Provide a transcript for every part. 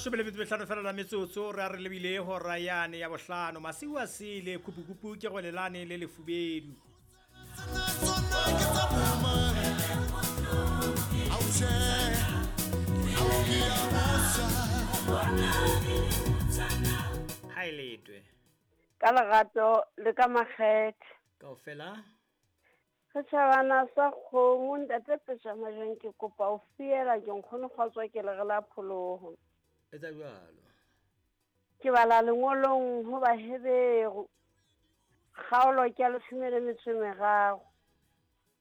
Leshome le metso mehlano fela la metsotso re a re lebile hora yane ya bohlano. Masiu a sele kupukupu ke gwelelane le lefubedu. Ha e letwe. Ka lerato le ka makgethe. Kaofela. Setjhabana sa kgomo ntate Pejamajang ke kopa o fiela ke nkgono kgotswa ke lere la pholoho. Etsa jwalo. Ke bala lengolong ho Baheberu. Kgaolo ke ya leshome le metso e meraro.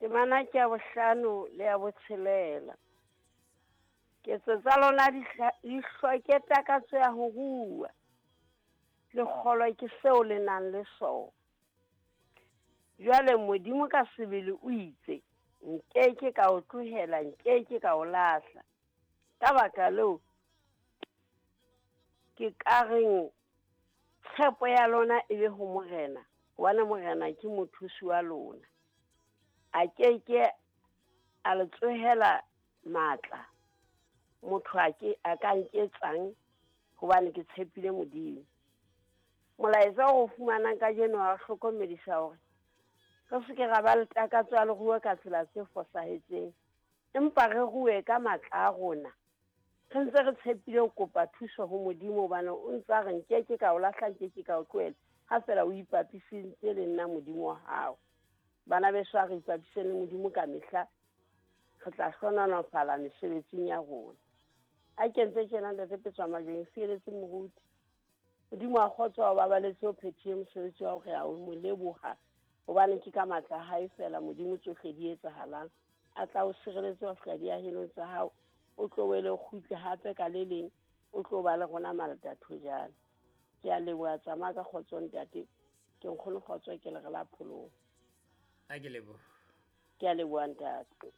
Temana ke ya bohlano le ya botshelela. Ketso tsa lona di hloke takatso ya ho rua. Le kgolwa ke seo le nang le sona. Jwale Modimo ka sebele o itse, nke ke ka o tlohela, nke ke ka o lahla. Ka baka leo, ke ka reng tshepo ya lona e be ho Morena, hobane Morena ke mothusi wa lona. A ke ke a le tsohela matla, motho a ke a ka nketsang, hobane ke tshepile Modimo. Molaetsa o fumanang kajeno wa hlokomedisa hore re se ke ra ba le takatso ya leruo ka tsela tse fosahetseng, empa re rue ka matla a rona. Re ntse re tshepile ho kopa thuso ho Modimo, hobane o ntse a re nke ke ka o lahla, nke ke ka o tlohela, ha fela o ipapisitse le nna Modimo wa hao. Bana beso, a re ipapiseng le Modimo ka mehla, re tla hlohonolofala mesebetsing ya rona. A kentse tjena ntate Petswamajweng, fieletse moruti. Modimo wa kgotso wa babaletse o phethile mosebetsi wa hore a o mo leboha, hobane ke ka matla a hae fela Modimo tsohle di etsahalang. A tla o sireletse wa fihla diahelong tsa hao, o tlo wele o kgutle hape ka le leng, o tlo ba le rona malatathojana. Ke a leboha, tsamaya ka kgotso ntate. Ke nkgono kgotso ke lere la pholoho. A ke leboha. Ke a leboha ntate.